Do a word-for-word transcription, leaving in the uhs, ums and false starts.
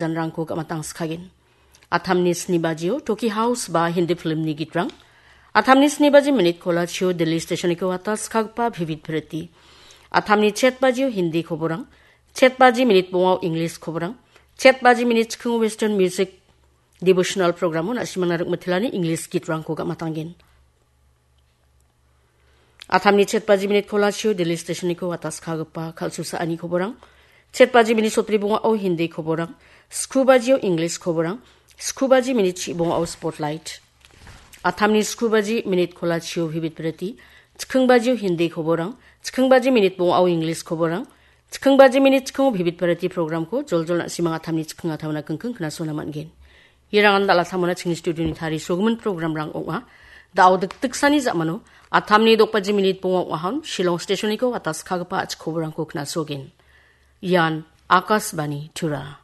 janrangko gamatangskagen. Atamni sni bajio Toki House ba Hindi filmni gitrang. Atamni sni baji minit kolachio Delhi stationiko wataskagipa Vivid Bharati. Atamni chet bajio Hindi koborang, chet baji minit bongao English koborang, chet baji minit chikingo Western music devotional programo na·simangna rikmitelani English gitrangko gamatanggen. Atamni chet baji minit kolachio Delhi stationiko wataskagipa kal·susaani koborang. Chet baji minit sotbri bongao Hindi koborang. Sku bajio English koborang. Sku baji minit chi bongao Spotlight. Atamni sku baji minit kolachio Vivid Bharati. Chiking bajio Hindi koborang. Chiking baji minit bongao English koborang. Chiking baji minit chikingo Vivid Bharati programko joljol na·simang atamni chiking atamna kingking knasona man·gen. Irangan dal·a samona chingni studioni tarisogimin programrang ong·a. Da·o dikdiksani ja·mano atamni dokbaji minit bonga ong·ahon Shillong stationiko wataskagipa a·chik koborangko knasogen. Ian Akashvani Tura.